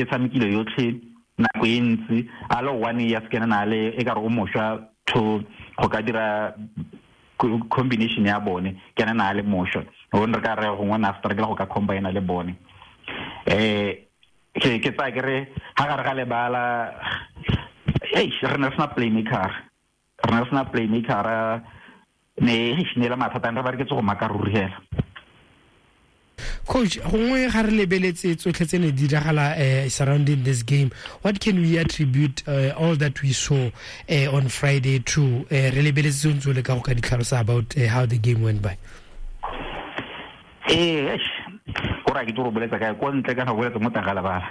e tshamekile yotlhe nako e ntsi a le one ya sekene na le e ka re o mošwa to go ka dira combination ya bone ke ene na le mošwa o re ka re gongwe na strike go ka combine le bone. Ke tsaya ke re ga gare ga lebala ei re ne re sena playmaker, re ne re sena playmaker, ne le mathata re ba re ke tse go maka ruri hela. Coach, gongwe ga re lebeletse tsotlhe tse ne di diragala surrounding this game, what can we attribute all that we saw on Friday to? Re lebeletse tse ntse o leka go ka di tlhalosa about how the game went by. Go ra ke tlo go boletsa kae ko ntle kana go boletsa mo teng ga lebala?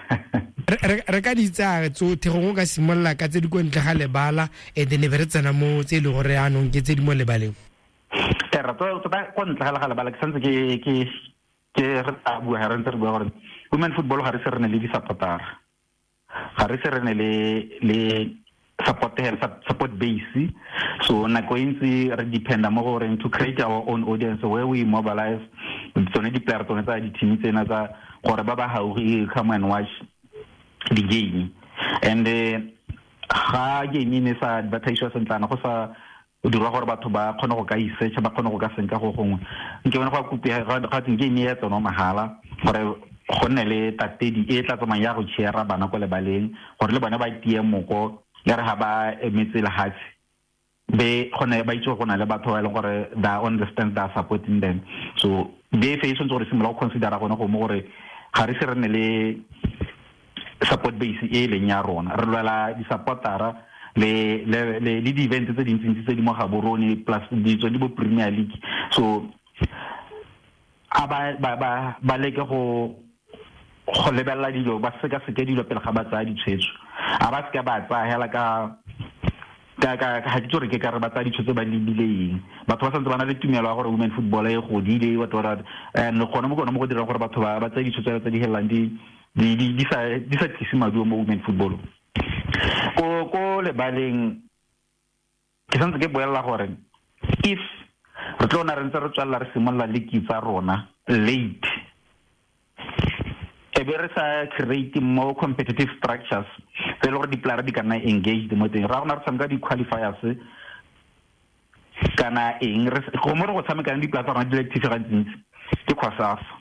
Re ka di tsaya tsotlhe, gongwe o ka simolola ka tse di ko ntle ga lebala and then e be re tsena mo tse e leng gore anong ke tse di mo lebaleng. Terra, tota ko ntle ga lebala ke santse ke re tla bua ga re ntse re bua gore women football ga re se re ne le di-supportera, ga re se re ne le support hela, support base. So nako e ntsi re dependa mo goreng to create our own audience where we mobilize tsone di-player tsone tsa di-team tsena tsa gore ba ba gaufi come and watch the game. And ga game e ne sa advertisiwa sentlana, go sa o dirwa gore batho ba kgone go ka isearcha, ba kgone go ka senka go gongwe, nke bone go a kopi ga teng game ya tsona mahala gore go nne le tatedi e tla tsamayang ya go cheera bana ko lebaleng gore le bone ba tie moko ya re ga ba emetse lehatshe be gone ba itse go na le batho ba e leng gore they understand, they are supporting them. So be fe e tshwanetse gore simolola go considera gone go mo gore ga re se re ne le support base e leng ya rona, re lwela di-supportera le le le le di-event tse dintsintsi tse di mo Gaborone plus ditso di bo Premier League. So a ba leke go lebelela dilo, ba sekaseke dilo pele ga ba tsaya ditshwetso. A ba seka ba tsaya hela ka ga ke itse gore ke ka re ba tsaya ditshwetso ba lebile eng. Batho ba santse ba na le tumelo ya gore women football e godile, what, and gone mo gone mo go dirang gore batho ba tseye ditshwetso tse di helelang di sa tlise maduo mo women football. Ko lebaleng ke santse ke boelela gore if re tlo na re ntse re tswelela re simolola league tsa rona late, e be re sa create more competitive structures tse e le gore di-player di ka nna engaged mo teng, ra gona re tshameka di-qualifiers kana eng, go mo re go tshamekang di-player tsa rona di le active gantsintsi ke COSAFA.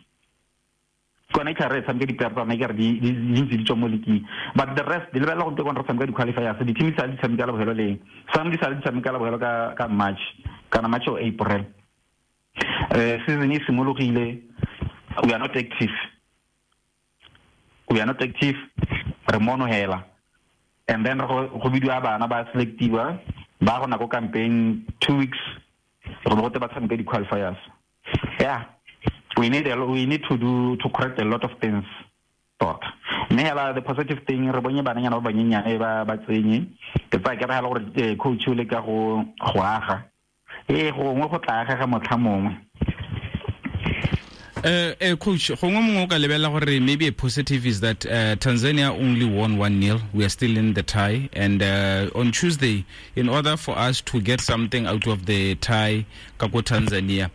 Kone ke re tshameka di-player tsa rona ke re di ntse di tswa mo league, but the rest di lebelela go ntse re tshameka di-qualifiers, di-team di sa di tshameka la bofelo leng, some di sa di tshameka la bofelo ka March kana March or April. Season e simologile, we are not active, we are not active, re mono hela, and then go bidiwa bana ba selectiwa ba go nako campaign 2 weeks go bo gote ba tshameka di-qualifiers. Yeah, we need to do to correct a lot of things tota. Mme hela the positive thing re bonye bananyana ba banyenyane ba tsenye, ke tsaya ke re hela gore coach o leka go aga, gongwe go tla agega motlha mongwe. Coach, gongwe mongwe o ka lebelela gore maybe a positive is that Tanzania only won 1-0. We are still in the tie, and on Tuesday, in order for us to get something out of the tie ka ko Tanzania,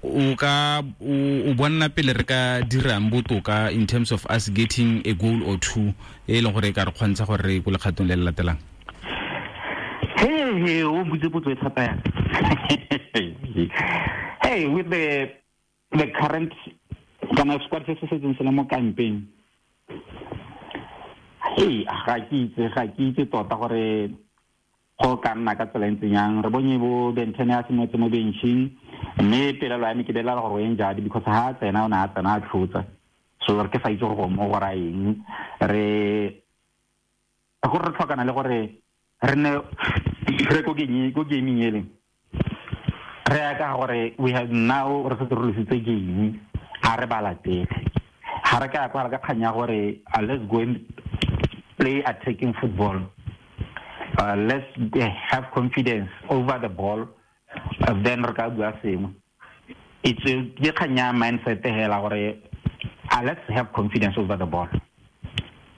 o ka o bonna pele re ka dirang botoka in terms of us getting a goal or two e leng gore e ka re kgontsha gore re ko lekgatong le le latelang? Hey, o mpotse potso e thata yana. Hey, with the current kana squad se se setseng se le mo campaign, hey, ga ke itse tota gore go ka nna ka tsela e ntseng yang. Re bonye bo Bentene a simolotse mo benching, mme pelelo ya me ke belela gore o injured because ha tsena o ne a tsena a tlhotsa, so re ke sa itse gore go mo go ra eng. Re gore re tlhokana le gore re ne re ko gaming e leng re ya ka gore we have now re setse re lositse game, ga re ba latele, ga re ka kwa re ka kganya gore let's go and play attacking football. Let's have confidence over the ball, then re ka bua sengwe. It's ke kganya mindset hela gore let's have confidence over the ball,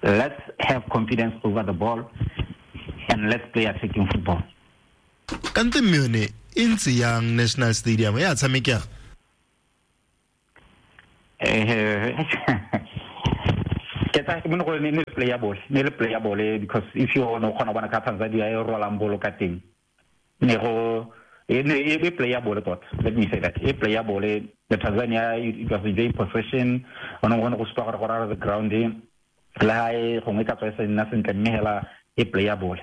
let's have confidence over the ball and let's play attacking football. Kante mme yone e ntse yang National Stadium ya tshamekega? Ke tsa ke mone gore ne le playable, ne le playable because if you no kgona bona ka Tanzania e rolang bolo ka teng. Ne go e ne e playable tota. Let me say that. E playable. The Tanzania it was in possession. Ono go go supa gore gore the ground le ha e gongwe ka tswa e sa nna sentle mme hela e playable.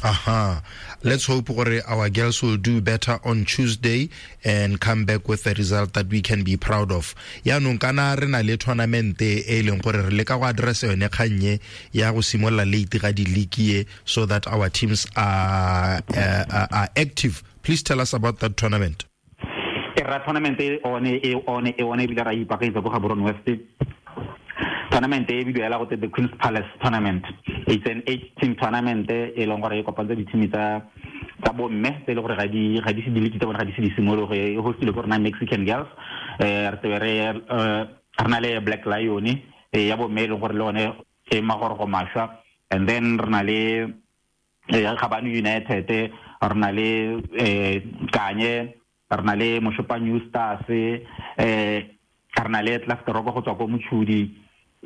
Aha. Let's hope gore our girls will do better on Tuesday and come back with a result that we can be proud of. Yaanong kana re na le tournament e leng gore re leka go address yone kgannye ya go simolola late ga di-league e so that our teams are active. Please tell us about that tournament. E ra tournament e one ebile ra ipaakanyetsa ko Gaborone West. Tournament e bidiwa go the Queen's Palace tournament. It's an 8-team tournament e leng gore e kopantse di-team tsa bomme tse e leng gore ga di se di tsa bona ga di se di simologe. E hostile ko rena Mexican Girls, re tsebe re na le Black Lion ya bomme e leng gore le one e magorogo mašwa, and then re na le Gabane United, re na le Kanye, re na le Moshopa New Stars, re na le Tlasteroko go tswa ko Mochudi.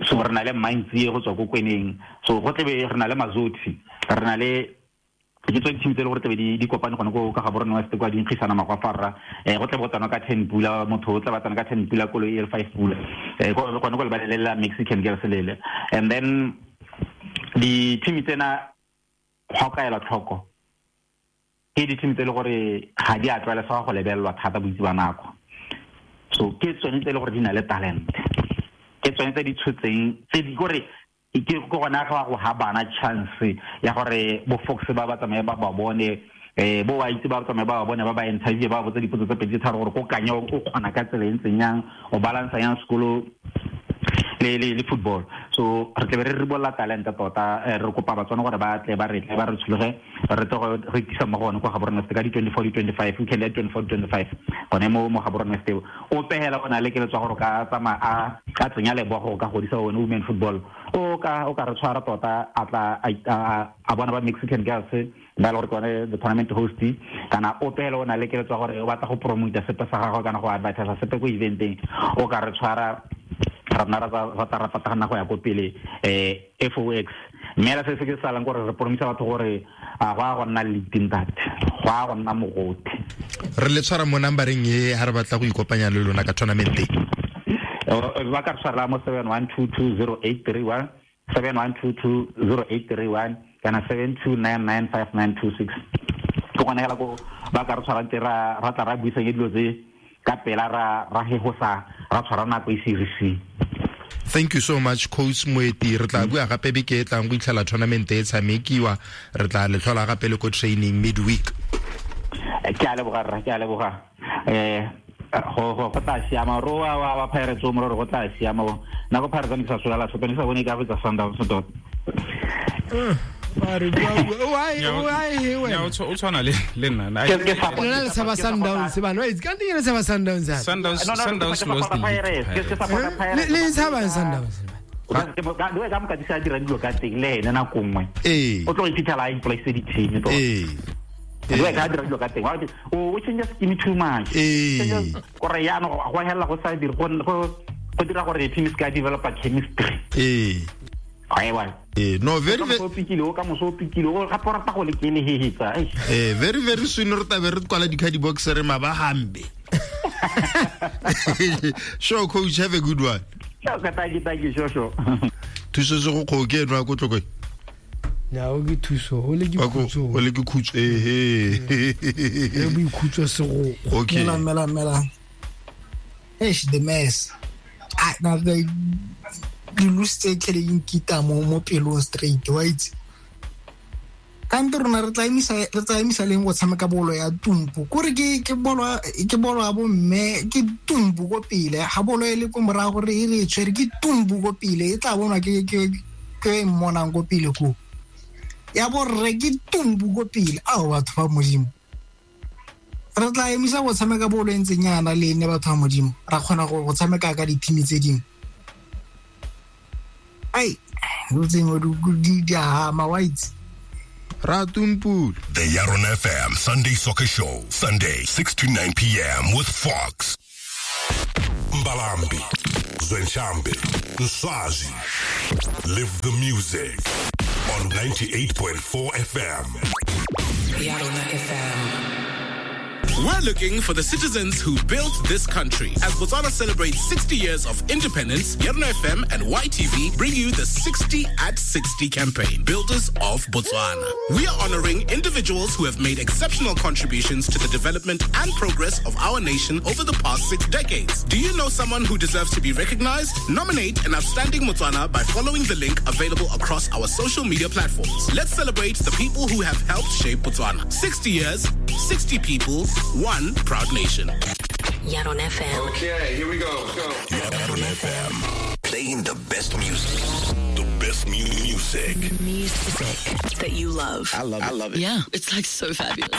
So re na le Mintsi go tswa ko Kweneng. So go tlebe re na le Mazotsi, re na le ke tswe team tse le gore tlebe di kopane gone ko ka Gaborone West kwa di nkgisana magwafarra. Go tlebe go tsana ka 10 pula, motho o tla ba tsana ka 10 pula koloi e le 5 pula. Gone go lebalele la Mexican Girls lele. And then di team tsena go ka ela tlhoko ke di team tse le gore ga di a tlwaelesega go lebelelwa thata boitse ba nako. So ke tsone tse le gore di na le talent, ke tsone tse di tshotseng tse di gore ke gona ga go ha bana chance ya gore bo Fox ba ba tsamaye ba ba bone, bo ba itse ba tsamaye ba ba bone ba ba interview ba botsa dipotso tse pedi tharo gore ko Kanye o kgona ka tsela e ntseng yang, o balance yang sekolo le football. So re tle re ribolla talent tota, re kopa Batswana gore ba tle ba re tle ba re tshologe re tle go re tisa mo gone kwa Gaborone West ka di 24 di 25 weekend ya 24 25 gone mo Gaborone West. O pehela ona le keletso gore ka tsamaya a ka tsenya lebogo ka godisa one women football, o ka re tshwara tota a tla a bona ba Mexican Girls ba le gore ke one the tournament host, kana o pehela ona le keletso gore o batla go promote sepe sa gagwe kana go advertise sepe ko eventeng, o ka re tshwara ra nna ra patagana go ya ko pele FOX. Mme la se se ke salang gore re promisa batho gore a go a go nna le ntate, go a go nna mogote. Re le tshwara mo numbereng e ha re batla go ikopanya le lona ka tournament e. Ba ka tshwara mo 71220831, 71220831 kana 72995926. Ke gone hela ko ba ka re tshwarang teng ra tla ra buisang dilo tse ka pela ra hegosa ra tshwara nako e serious. Thank you so much Coach Moeti. Re tla bua gape beke e tlang go itlhela tournament e tshamekiwa, re tla le tlhola gape le ko training midweek. Ke a leboga rra, ke a leboga. Go tla siama ro wa Pirates o mo re go tla siama. Nna go Pirates ne ke sa sola sepe, ne ke sa bone ka fetsa Sundowns tota. Ba re why o tshwana le nna. Ke sa Sundowns bana, it's ka nne sa Sundowns. Sundowns lost the league. Le tshaba Sundowns. Ka ka mo ka disa dira dilo ka teng le ene nako nngwe. O tlo iphitlhela a ipolaise di-team tota. Dilo ka dira dilo ka teng. O change scheme too much. Gore yaanong go hela go sa dire go dira gore team se ka developa chemistry. No, very very very very soon re tla be re kwala di-card box re mabahambe. Sure coach, have a good one. Thank you, sure. Thuso se go kgoke eno ko tlokwe. Ya o ke thuso, o le ke khutso. O le ke khutso eh. E boikhutso se go. Okay. Mela. Eish the mess. I na the di lose tse tlhele di nkita mo pelong straight, wa itse. Kante rona re tla emisa leng go tshameka bolo ya tumpu, kore ke bolo ya bomme, ke tumpu ko pele, ga bolo e le ko morago re e re tshwere ke tumpu ko pele, e tla bonwa ke e mmonang ko pele ko ya borre ke tumpu ko pele. Ao batho ba Modimo, re tla emisa go tshameka bolo e ntseng yana le nne batho ba Modimo, ra kgona go tshameka ka di-team tse dingwe. Ai, dilo tse dingwe di a ama, wa itse. Ratumpul. The Yaron FM Sunday Soccer Show, Sunday 6 to 9 p.m. with Fox. Mbalambi. Zwenshambe, Nswazi. Live the music on 98.4 FM. Yarona FM. We're looking for the citizens who built this country. As Botswana celebrates 60 years of independence, Yarona FM and YTV bring you the 60 at 60 campaign, Builders of Botswana. We are honoring individuals who have made exceptional contributions to the development and progress of our nation over the past 6 decades. Do you know someone who deserves to be recognized? Nominate an outstanding Motswana by following the link available across our social media platforms. Let's celebrate the people who have helped shape Botswana. 60 years, 60 people, one proud nation. Yaron FM. Okay, here we go. Go. Yaron FM. Playing the best music. The best music. Music that you love. I love it. I love it. Yeah, it's like so fabulous.